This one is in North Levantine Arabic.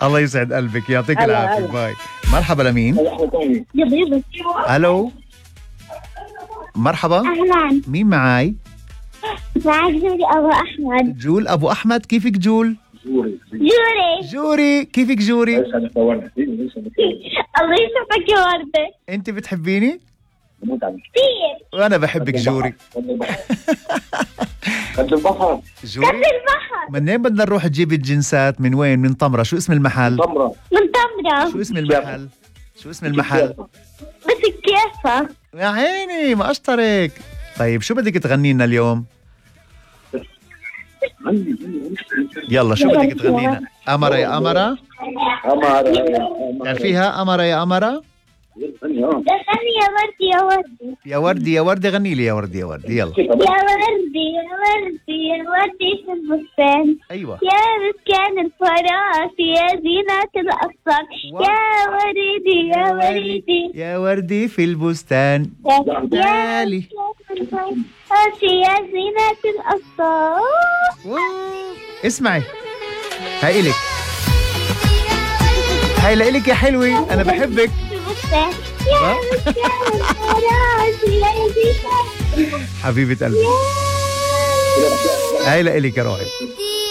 الله يسعد قلبك، يعطيك العافية. باي. مرحبا لمين؟ الو مرحبا. أهلا، مين معاي؟ معك جوري أبو أحمد. جول أبو أحمد. كيفك جول؟ جوري كيفك جوري؟ الله يشوفك يا وردة. انت بتحبيني؟ كثير. وانا بحبك جوري. قد البحر. جوري البحر. منين بدنا نروح تجيب الجنسات؟ من وين؟ من طمرة. شو اسم المحل؟ من طمرة. شو اسم المحل؟ شو اسم المحل؟ بس كيفك؟ يا عيني ما اشطرك. طيب شو بدك تغني لنا اليوم؟ يلا شو بدك تغني لنا؟ أمرة يا أمرة؟ تعرفيها أمرة يا أمرة؟ غني يا وردي يا وردي. يا وردي يا وردي غني لي يا وردي يا وردي. يلا. يا وردي يا وردي يا وردي في البستان. أيوة. يا مسكان الفراش يا زينة الأغصان. يا وردي يا وردي يا وردي في البستان. يا يا زينة الأغصان. اسمعي هاي إلك، هاي لإلك يا حلوي. أنا بحبك. يا مسكان الفراش يا زينة. حبيبة قلبي هاي لإلك يا روحي.